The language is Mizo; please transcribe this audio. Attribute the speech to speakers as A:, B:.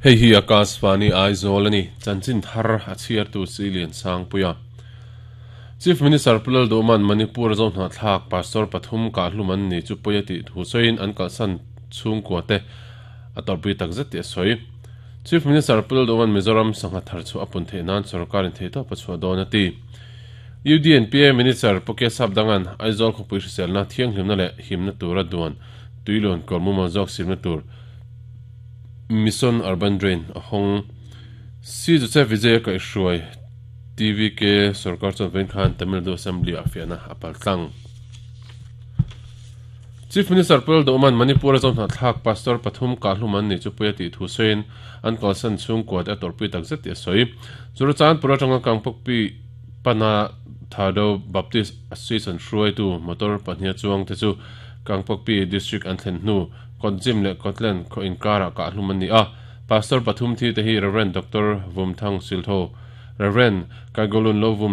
A: Hei hi Akashvani Aizawl a ni, chanchin thar a chhiartu Silian Sangpuia. Chief Minister Pu Lalduhman Manipur a zohnahthlak Pastor pathum kahhlum an ni chu pawi a tih thu sawiin an kalhsan chhungkua te a tawrhpui tak zet tih a sawi. Chief Minister Pu Lalduhman Mizoram sangha thar chhuah a pun theih nan sorkarin theihtawp a chhuah dawn a ti. UDNPA Minister Pu Kesap Dangan Aizawl khawpui hriselna thianghlimna leh himna tura duan tuiluan kawr mumal zawk simna tur Mission Urban Drain a hawng. Si Joseph Vijay a kaihhruai TVK sorkar chuan vawiin khan Tamil Nadu Assembly ah fiahna a pal tlang. Chief Minister Pu Lalduhman Manipur a zohnahthlak Pastor pathum kahhlum an nih chu pui a tih thu sawiin an kalsan chhungkua te a tawrhpui tak zet tih a sawi. Churachandpur atanga Kangpokpi pana Thado Baptist Association hruaitu motor pahniha chuang te chu Kangpokpi District an thlen hnu Kawtjim leh Kawtlen khaw inkarah kahhlum an ni a. Pastor pathum thi te hi Rev. Doctor Vumthang Siltho, Rev. Kaigolun Lovum leh.